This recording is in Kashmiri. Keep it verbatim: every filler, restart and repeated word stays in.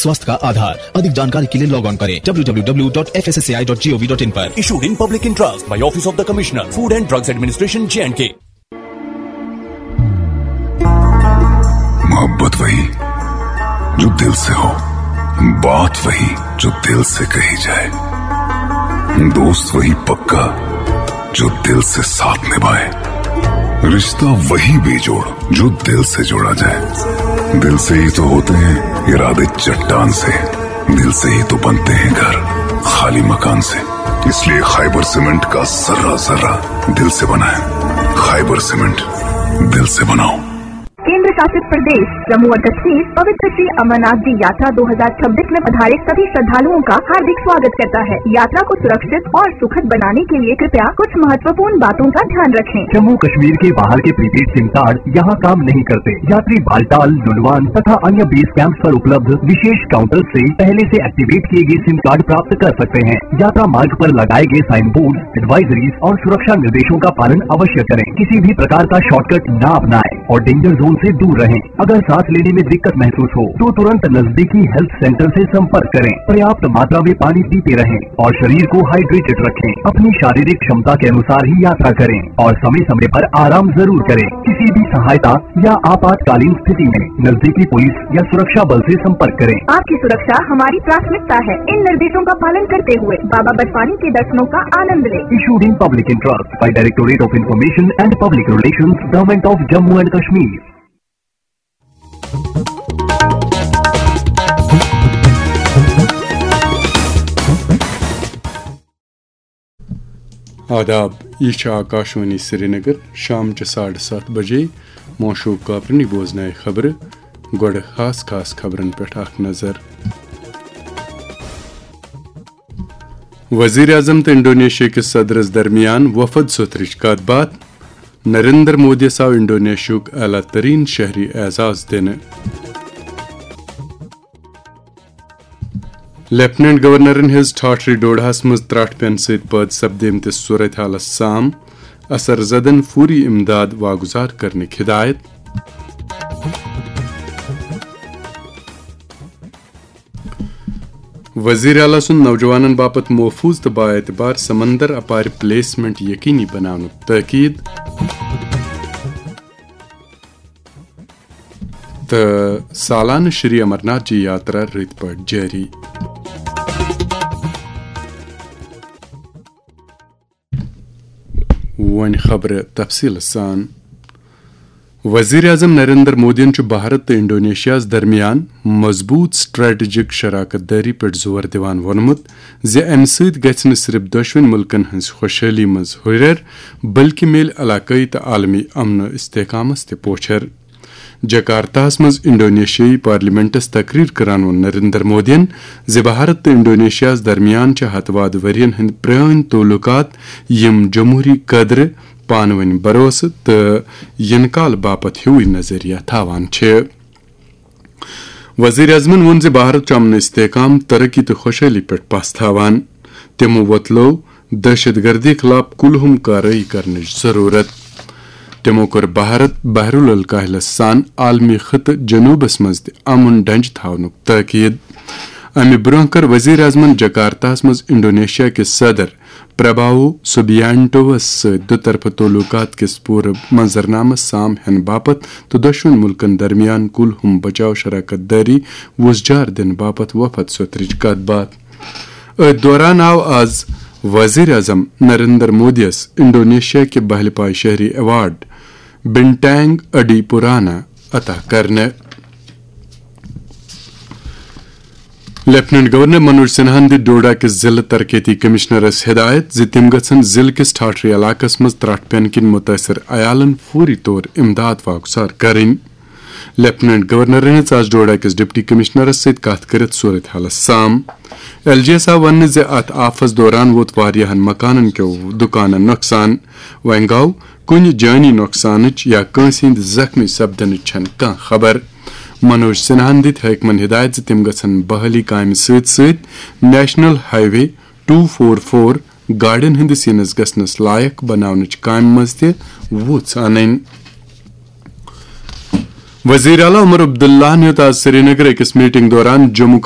स्वास्थ्य का आधार। अधिक जानकारी के लिए लॉग ऑन करें W W W dot F S S A I dot G O V dot I पर। Issued in public interest by Office of the Commissioner, Food and Drugs Administration, J and K. मोहब्बत वही जो दिल से हो, बात वही जो दिल से कही जाए, दोस्त वही पक्का जो दिल से साथ निभाए, रिश्ता वही बेजोड़ जो दिल से जोड़ा जाए। दिल से ही तो होते हैं इरादे चट्टान से, दिल से ही तो बनते हैं घर खाली मकान से। इसलिए खाइबर सीमेंट का जर्रा जर्रा दिल से बनाए। खाइबर सीमेंट, दिल से बनाओ। केंद्र शासित प्रदेश जम्मू और कश्मीर पवित्र श्री अमरनाथ जी यात्रा दो हज़ार छब्बीस में पधारे सभी श्रद्धालुओं का हार्दिक स्वागत करता है। यात्रा को सुरक्षित और सुखद बनाने के लिए कृपया कुछ महत्वपूर्ण बातों का ध्यान रखें। जम्मू कश्मीर के बाहर के प्रीपेड सिम कार्ड यहाँ काम नहीं करते। यात्री बालटाल, लुलवान तथा अन्य बेस कैंप पर उपलब्ध विशेष काउंटर से पहले से एक्टिवेट किए गए सिम कार्ड प्राप्त कर सकते हैं। यात्रा मार्ग पर लगाए गए साइन बोर्ड, एडवाइजरीज और सुरक्षा निर्देशों का पालन अवश्य करें। किसी भी प्रकार का शॉर्टकट ना अपनाएं और डेंजर जोन से दूर रहें। अगर सांस लेने में दिक्कत महसूस हो तो तुरंत नजदीकी हेल्थ सेंटर से संपर्क करें। पर्याप्त मात्रा में पानी पीते रहें और शरीर को हाइड्रेटेड रखें। अपनी शारीरिक क्षमता के अनुसार ही यात्रा करें और समय समय पर आराम जरूर करें। किसी भी सहायता या आपातकालीन स्थिति में नजदीकी पुलिस या सुरक्षा बल से संपर्क करें। आपकी सुरक्षा हमारी प्राथमिकता है। इन निर्देशों का पालन करते हुए बाबा बर्फानी के दर्शनों का आनंद लें। Issued in public interest by Directorate of Information and Public Relations, Government of Jammu and Kashmir. آداب، یہ چھِ آکاشوانی سرینگر۔ شام چہِ ساڑٕ ستھ بجے موشوق کاپرنی بوزنایہِ خبرٕ۔ گۄڈٕ خاص خاص خبرن پٮ۪ٹھ اکھ نظر۔ وزیر اعظم تہٕ انڈونیشیا کِس صدرس درمیان وفد سوٚتھرٕچ کتھ باتھ۔ نریندر مودیَس آو انڈونیشیاہُک اعلیٰ ترین شہری اعزاز دِنہٕ۔ لیفٹیننٹ گورنرن ہٕنٛز ٹھاٹھرِ ڈوڈاہس منٛز ترٛٹھ پینہٕ سۭتۍ پٲدٕ سپدیمتِس صورتحالس سام، اثر زدن فوری امداد واگزار کرنٕکۍ ہدایت۔ وزیر اعلیٰ سُنٛد نوجوانن باپتھ محفوظ تہٕ بااعتبار سمندر اپارِ پلیسمنٹ یقینی بناونُک تاکید۔ تہٕ سالانہٕ شری امرناتھ جی یاترا رٕتۍ پٲٹھۍ جٲری۔ وۄنۍ خبرٕ تفصیٖل سان۔ وزیر اعظم نریندر مودیَن چھُ بھارت تہٕ انڈونیشیاہَس درمیان مضبوٗط سٹریٹجک شراکت دٲری پٮ۪ٹھ زور دِوان ووٚنمُت زِ اَمہِ سۭتۍ گژھِ نہٕ صرف دۄشوٕنی مُلکَن ہٕنٛز خۄشحٲلی منٛز ہُرٮ۪ر، بلکہِ میلہِ علاقٲیی تہٕ عالمی امن و استحکامَس تہِ پوچھر۔ جکارتاہَس منٛز انڈونیشیائی پارلیمنٹَس تقریر کران ووٚن نریندر مودیَن زِ بھارت تہٕ انڈونیشیاہَس درمیان چھِ ہتہٕ وادٕ ؤرین ہٕنٛدۍ پرٲنۍ تعلقات، یِم جمہوری قدرٕ، پانہٕ ؤنۍ بھروسہٕ تہٕ یِنہٕ کال باپتھ ہیوٗے نظریہ تھاوان چھِ۔ وزیر اعظمَن ووٚن زِ بھارت چھُ امن استحکام، ترقی تہٕ خۄشحٲلی پٮ۪ٹھ پژھ تھاوان۔ تِمو وۄتلٲو دہشت گردی خلاف کُلہُم کاروٲیی کرنٕچ ضروٗرت۔ تِمو کوٚر بھارت بحر الکاہلس سان عالمی خطہٕ جنوٗبس منٛز تہِ امن ڈنجہِ تھاونُک تٲکید۔ امہِ برٛونٛہہ کٔر وزیر اعظمَن جکارتاہَس منٛز انڈونیشیا کِس صدر پرباوو سوبیانٹووَس سۭتۍ دُطرفہٕ تعلقات کِس پوٗرٕ منظرنامس سام ہٮ۪نہٕ باپتھ تہٕ دۄشوٕنی مُلکَن درمیان کُلہُم بچاو شراکت دٲری وُژھ جار دِنہٕ باپتھ وفد سوٚتھرٕچ کتھ باتھ۔ أتھۍ دوران آو آز وزیر اعظم نریندر مودیَس انڈونیشیا کہِ بہلہِ پایہِ شہری ایوارڈ بنٹینگ اڈی پورانا عطا کرنہٕ۔ لیفٹیننٹ گورنر منوج سنہاہن دِتۍ ڈوڈا کِس ضلعہٕ ترقیتی کمشنرس ہدایت زِ تِم گژھن ضلعہٕ کِس ٹھاٹھرِ علاقس منٛز ترٹھ پینہٕ کِنۍ متٲثر عیالن فوری طور امداد واگزار کرٕنۍ۔ لیفٹیننٹ گورنرن ہیٚژ آز ڈوڈا کِس ڈپٹی کمشنرس سۭتۍ کتھ کٔرِتھ صورتحالس سام۔ ایل جی یس آو وننہٕ زِ اتھ آفس دوران ووت واریاہن مکانن کیو دُکانن نۄقصان۔ وۄنۍ گوٚو کُنہِ جٲنی نۄقصانٕچ یا کٲنٛسہِ ہٕنٛدِ زخمی سپدنٕچ چھنہٕ کانٛہہ خبر۔ منوج سنہاہن دِتۍ حٲکمن ہدایت زِ تِم گژھن بحالی کامہِ سۭتۍ سۭتۍ national highway two four four گاڑٮ۪ن ہٕنٛدِس یِنَس گژھنَس لایق بناونٕچ کامہِ منٛز تہِ وُژھ اَنٕنۍ۔ وزیر اعلیٰ عمر عبداللہَن ہیوٚت آز سرینگر أکِس میٹنگ دوران جموں